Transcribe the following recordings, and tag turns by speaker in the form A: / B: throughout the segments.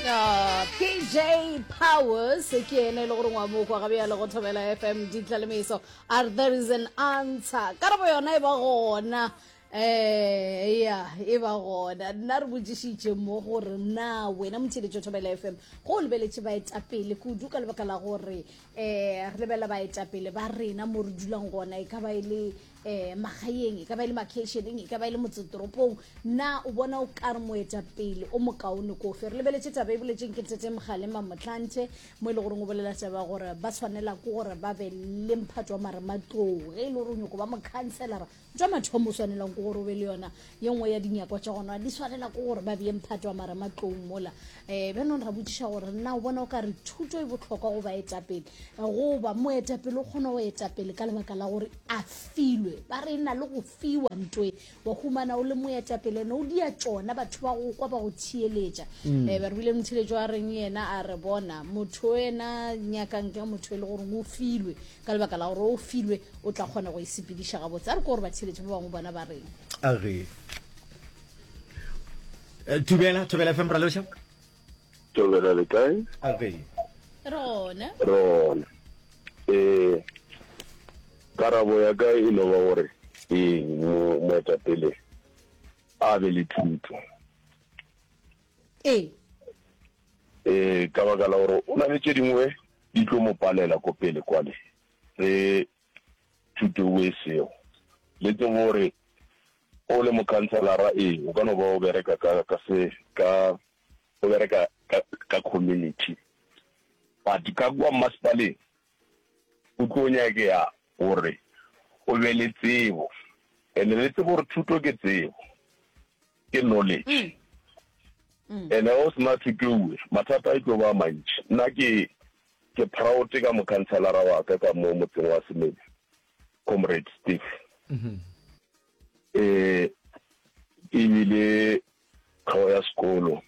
A: Ah, PJ Powers ke ene e le gore ngwa mokwa ga bjale go thobela FM ditlalemeso a re there is an answer karabo yona e ba gona eh ya e ba gona nna re botšišitše mo gore na wena motheletšo thobela fm go o lebeletše baetapele kudu ka lebaka la gore um re lebelela baetapele ba rena mo re dulang gona e ka ba e le um magaeng e ka ba e le makeišeneng e ka ba e le motsetoropong na o bona o ka re moetapele o mokaone kofe re lebeletše taba e boletseng ke tete mogale mamotlanthe mo e le goreng o bolela taba gore ba tshwanela ke gore ba be le mphato wa marematlou ge e le gore o nyoko ba mokhanselara Tša mathomo o swanelang ke gore o be le yona ye nngwe ya dinyakwa tša gona di swanela ke gore ba bee mphato wa marematlou mola. Um bjanong ra botšiša gore na o bona o ka re thuto e bohlokwa go baetapele goba moetapele o kgona go etapele ka lebaka la gore a filwe. Ba re e na le go fiwa nto e wa humana o le moetapele ene o dia tšona batho ba go kwa ba go theeletša. Um ba re bile motheeletšo a reng yena a re bona motho ena nyakang ke motho e le gore o filwe ka lebaka la gore o filwe o tla kgona go e sepediša gabotse a re ko gore batheeletši ba bangwe bona ba reng
B: a re eh, thubela thobela fm raloša
C: thobela le kae
B: a re
A: re gona
C: re gona um karabo ya ka e no ba gore ee moetapele a be le thuto
A: ee
C: ee ka baka la gore o na le tše dingwe di tlo mo palela ko pele kwale ge thuto eo e sego. Le tsebe gore o le mokhanselara, ee, o ka no ba o bereka ka, ka se, ka, o bereka ka, ka community, but ka kua mmasepaleng o tlo nyakega gore o be le tsebo. And le tsebe gore thuto ke tsebo, ke knowledge. Mm. And ge o sena thuto ewe, mathata e tlo ba a mantši. Nna ke, Ke proud ka mokhanselara wa ka ka mo motseng wa Semenya, Comrade Steve. Eh, e bile tlhogo ya sekolo.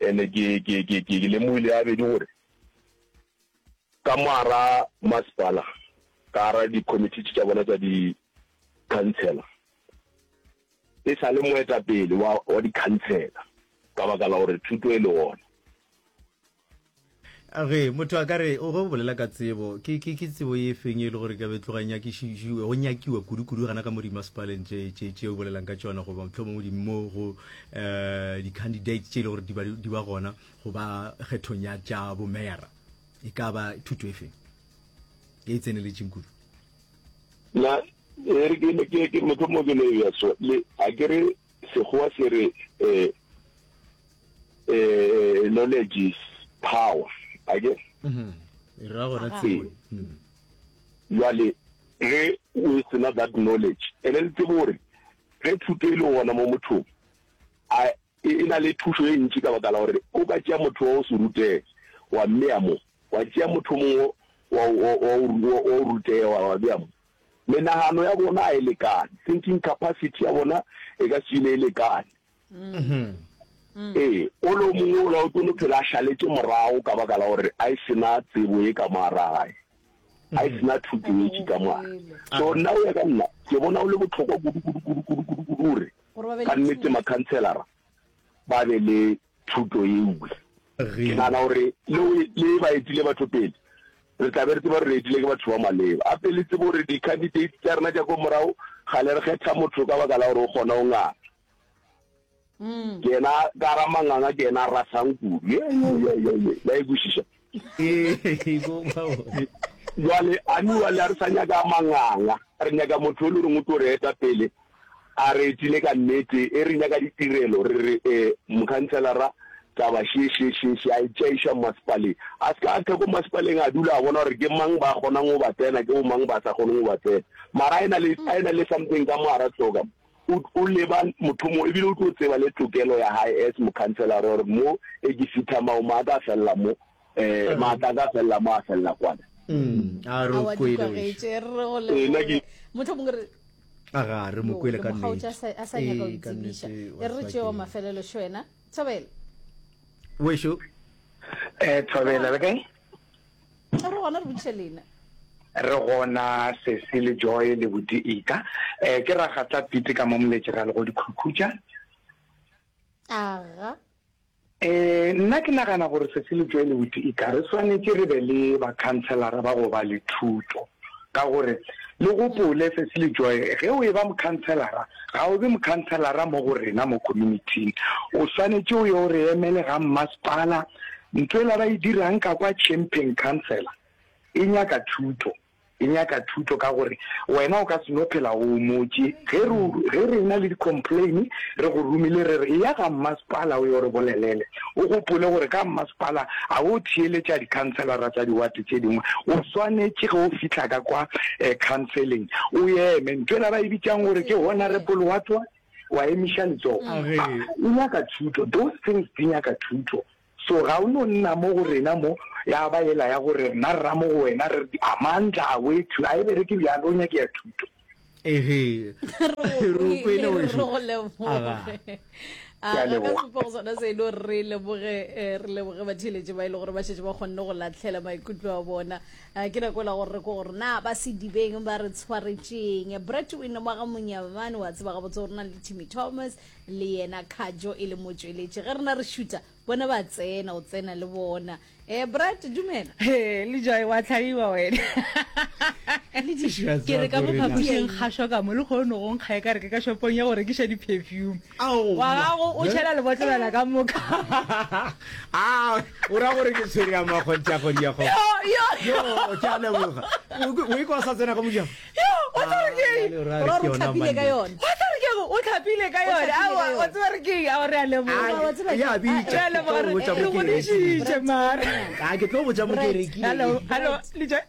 C: Ene ke ke ke ke lemogile ya bedi gore ka mo ara masepala, ka ara di-committee tša bona tša di-councillor, e sa le moetapele wa wa di-councillor ka baka la gore thuto e le gona.
B: Ge motho a ka re o ge o bolela ka tsebo, ke ke ke tsebo e feng e le gore ka be tloga e nyakišišiwe, go nyakiwa kudu-kudu gana ka mo dimasepaleng tše tše tše o bolelang ka tšona goba mohlomongwe di mo go eh di-candidate tše e le gore di ba di ba gona go ba kgethong ya tša bomeyara, e ka ba thuto e feng e e tseneletšeng kudu?
C: Na e re ke ke ke mohlomongwe ke no e bea so, le a ke re Sekgowa se re eh eh knowledge is power, a ke?
B: Mhm. E ra gona tsebo. Mm.
C: Jwale ge o sena that knowledge, ene le tsebe gore ge thuto e le gona mo mothong, a e e na le thušo e ntši ka baka la gore o ka tšea motho wa go se rutege wa mmea mo, wa tšea motho mongwe wa wa wa wa go rutega wa wa bea mo. Menagano ya bona a e lekane, thinking capacity ya bona e ka se dule e lekane. Ee, o le o mongwe ola o tlo no phela a šaletše morago ka baka la gore a e sena tsebo ye ka mo gare ga gae, a e sena thuto ye tši ka mo gare. So nna go ya ka nna ke bona go le bohlokwa kudu kudu kudu kudu kudu kudu gore ka nnete makhanselara ba be le thuto ewe. Ke nagana gore le le ba etile batho pele, re tla be re tseba gore re etile ke batho ba maleba. Gape le tsebe gore di-candidates tša rena tša ko morago, kgale re kgetha motho ka baka la gore o kgona go nganga. Ke yena ka ra manganga, ke yena a rasang kudu. Ye, ye, ye, ye, ye. La e kwešiša? Jwale, a nu a re sa nyaka manganga, re nyaka motho e le goreng o tlo re eta pele. A re etile ka nnete, e re nyaka ditirelo, re re, e, mokhanselara, taba še, še, še, še, a e tšeiša mmasepaleng. A se ka a tla ko mmasepaleng a dula a bona gore ke mang ba kgonang go ba tsena, ke bo mang ba sa kgoneng go ba tsena. Mara a e na le, a e na le something ka mo hara hloka mo. O, o leba motho mo, ebile o tlo tseba le tokelo ya hae as mokhanselara gore mo e ke fitha mao, maaka a fella mo, eh, maatla a ka felela mo a felela kwana.
B: Mm, a re o
A: Aowa, di
B: kwele
A: kwagetše,
B: wešo.
A: re go
C: Ee, nna ke-
A: leboge. Mohlomongwe re
B: A ga re mo kwele
A: le
B: ka
A: mokgaotša
B: nnete.
A: a sa- a sa nyaka go
B: Ee, ka
A: itsebiša
B: nnete,
A: e re
B: wa
A: re tšeo
B: tseba ke-
A: mafelelo šo wena thobela
B: Wešo.
D: Eh, Thobela, le kae?
A: re gona re botšiša lena
D: Re gona Sesi le Joy le Buti Ika. Eh, ke ragatla pite ka mo moletše ra le go dikhukhutša.
A: aga.
D: Eh, nna ke nagana gore Sesi le Joy Lebuti eka re swanetše re be le bakhanselara ba go ba le thuto. Ka gore le gopole Sesi le Joy, ge o eba mokhanselara, ga o be mokhanselara mo go rena mo community-ing. O swanetše o ye o re emele ga mmasepala. Ntho ela ba e dirang ka kwa champion councillor e nyaka thuto. E nyaka thuto ka gore wena o ka se no phela o homotše. Ge re, ge re ena le di-complain, re go romile re re eya ga mmasepala o yo re bolelele. O gopole gore ka mmasepala ga o theeletša dikhanselara tša diwate tše dingwe. O swanetše ge o fihla ka kwa khanseleng o eme. Ntho ela ba e bitšang gore ke honourable what what, wa emiša letsogo. E nyaka thuto. Those things di nyaka thuto. So ga o no nna mo go rena mo, ya ba yela ya gore rena re ra mo go wena re re Amandla awethu a e bereke bjalo o nyakea thuto.
B: Ehe.
A: Re
B: go kwele wešo.
A: Re go leboge.
D: Ke a
A: A ga ka
D: leboga.
A: sebopego sona se no re leboge eh, re leboge batheeletši ba e le gore ba šetše ba kgonne go latlhela maikutlo a bona. Ah, ke nako la gore re ko gore na ba sedibeng ba re tshwaretšeng. Brett Win wa ga Monyamane wa tseba gabotse gore na le Timmy Thomas le yena Khajo e le motšweletši. Ge rena re šuta bona ba tsena, o tsena le bona. Eh, Brad, dumela.
E: He, le Joy, wa tlhaiwa wena. Ke re ka mo phapošing kgašo ka mo le kgone go nkga e ka re ke ka shopong ya go rekiša di-perfume. Wa gago o tšhela lebotlelwana ka moka.
B: A o ra gore ke tshwere ya makgontša kgodi ya kgogo.
E: Yo, yo.
B: Yo, ke a leboga. O ikwa o sa tsena ka mojako?
E: Yo, wa tseba re ke eng?
A: O ra gore o tlhapile ka yona.
E: Wa tseba re ke eng? O tlhapile ka yona. Aowa, wa tseba re ke eng? Aowa, re a leboga.
A: Wa tseba ke-
B: Ya bitša.
E: Re a leboga,
B: Ke tlo botša
E: re
B: mo ke e
E: godišitše mara.
B: A ke tlo botša mo ke e rekile.
E: Hello, hello, Lejwe.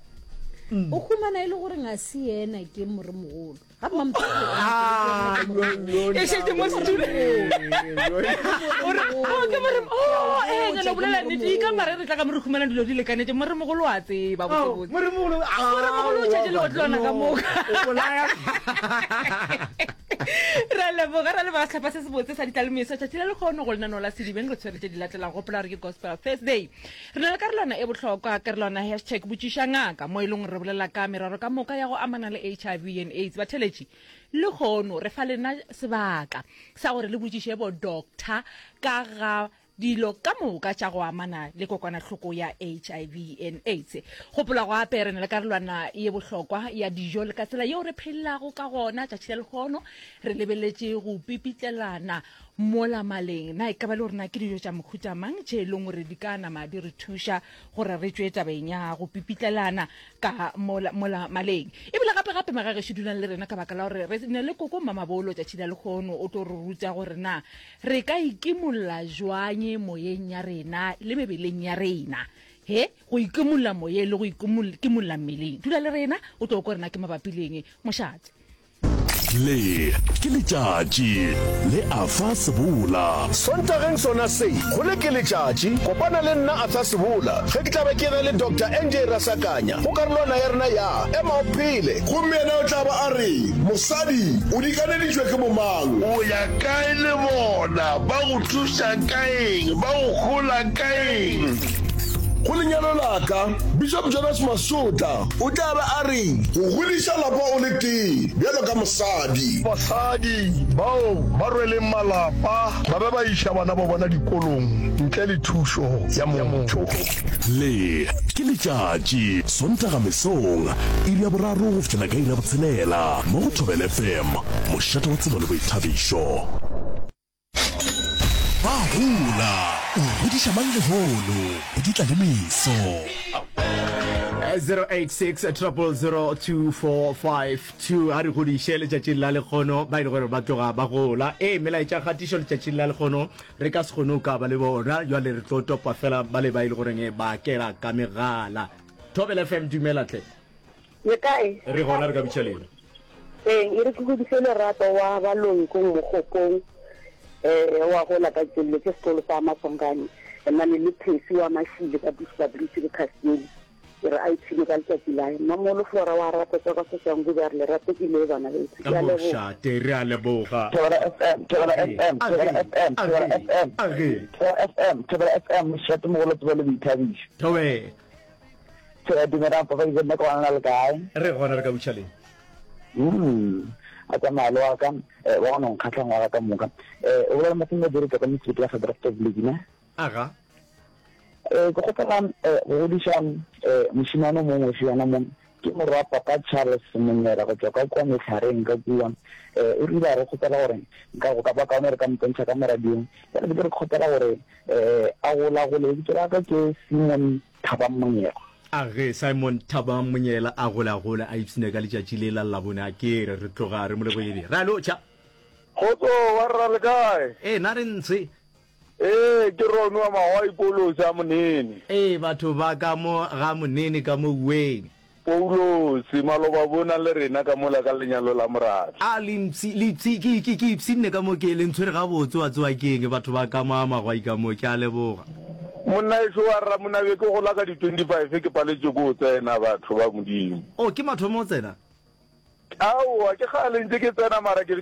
A: O humana e le gore ga se yena ke moremogolo. Ga
B: Ah,
E: E šetše mo setulong. O re, oh, ke more, oh, eh, nyana bolela nnete, e ka mare re tla ka mo re humana dilo di lekanetše, moremogolo wa tseba botsebotse.
B: Moremogolo, ah,
E: Moremogolo o tšhetše leotlwana ka moka.
B: O bolaya.
E: Re a leboga, re a leboga sehlopha se sebotse sa ditlalemeso tšatši la lekgono go lenaneo la Sedibeng re tshwere tše di latelago. Gopola gore ke Gospel Thursday. Re na le karolwana e bohlokwa, karolwana hashtag botšiša ngaka, mo e leng gore re bolela ka merero ka moka ya go amana le HIV and AIDS. Batheeletši, lehono re fa lena sebaka sa gore le botšiše bo doctor ka ga dilo ka moka tša go amana le kokwanahloko ya HIV and AIDS. Gopola gape re na le karolwana ye bohlokwa ya dijo le ka tsela yeo re phelago ka gona tšatši la lehono. Re lebeletše go pipitlelana Mola maleng, na e ka ba le gore na ke dijo tša mohuta mang tše e leng gore di ka nama di re thuša gore re tšwe tabeng ya go pipitlelana ka mola, mola maleng? Ebile gape gape magagešo dulang le rena ka baka la gore re na le koko Mmamabolo tšatši la lehono o tlo re ruta gore na re ka ikimolla jwang moyeng ya rena le mebeleng ya rena. He, go ikimolla moyeng le go ikimolla mmeleng. Dula le rena o tlo kwa gore na ke mabapi le eng. Mošate.
F: Le ke letšatši le Arthur Sebola.
G: Sontageng sona se, go le ke letšatši, kopana le nna Arthur Sebola ge ke tla be ke na le Doctor NJ Rasakanya go karolwana ya rena ya Ema o Phele.
H: Gomme yena o tla ba a re, Mosadi, o dikaneditšwe ke bomang?
I: O ya kae le bona? Ba go thuša ka eng? Ba go hola ka eng?
H: Go lenyalo la ka, Bishop Jonas Masotla o tla be a re. Go godiša lapa o le tee bjalo ka mosadi.
I: Basadi bao ba rweleng malapa ba be ba iša bana ba bona dikolong ntle le thušo ya motho.
F: Le ke letšatši, Sontaga mesong, iri ya boraro go fihlela ka iri ya botshelela, mo go Thobela FM, mošate wa tsebo le boithabišo. Ba gola, o godiša mang lehono, go di tla le meso.
B: 086 0002452 a re godiše letšatšing la lekgono ba e le gore ba tloga ba gola ee melaetša kgatišo letšatšing la lekgono re ka se kgone go ka ba le bona jwale re tlo topa fela ba le ba e le goreng ba kela ka megala thobela fm dumela tle
J: Le kae?
B: Re gona re ka bitša lena.
J: Ee, e re ke godiše Lerato wa Baloi ko Mogopong eh wa gola ka tšelle ke sekolo sa Masongane nna le Phesi wa Mashile ka Bushbuckridge le Castiel ke re a ipshine ka letšatši lae Mmamolo Flora wa rata tša ka Soshanguve a re lerato ke le bana beso
B: Ka mošate re a leboga.
K: Thobela FM, Thobela FM, Thobela FM, Thobela FM, Thobela FM, Thobela FM, mošate mogolo tsebo le boithabišo.
B: Thobela.
K: Thobela dumelang papa ke nna ke gona le kae?
B: Re gona re ka butša leng?
K: Mm. A tsamaya le wa ka eh, wa gona nkgatlha ngwaga ka moka. Eh o bolela mathong a direta ka mosebetsi wa Gedraftov League ne?
B: Aga.
K: Eh, ke kgopela eh, go godiša eh, mošemane o mongwe fiana mo ke morwa papa Charles Monyela go tšwa ka kua Mehlareng ka kua. Eh, o rile a re kgopela gore nka go ka ba kaone re ka mpontšha ka mo radiong. Bjale be ke re kgopela gore eh, a golagole. Lebitso la ka ke Simon Thabang Monyela.
B: A ge Simon Thabang Monyela a golagole a ipshine ka letšatši le la Labone a ke re re tloga re mo lebohile. Re a lotšha.
L: Kgotso wa rra le kae?
B: Ee na re ntshe.
L: Ee ke Ron wa Mahwai Paulos a Monene.
B: Ee batho ba ka mo ga Monene ka mo Uweng.
L: Paulos, maloba bona le rena ka mola ka lenyalo la Morabi.
B: A le mpshi, le ipshi, ke, ke, ke ipshinne ka mo ke, le ntshwere gabotse wa tseba ke eng batho ba ka mo a Mahwai ka mo, ke a leboga.
L: Monna ešo wa rra Monabe ke gola ka di 25 ke paletšwe ke go tsena batho ba Modimo.
B: Oh ke mathomo o tsena?
L: Aowa ke kgale ntše ke tsena mara ke.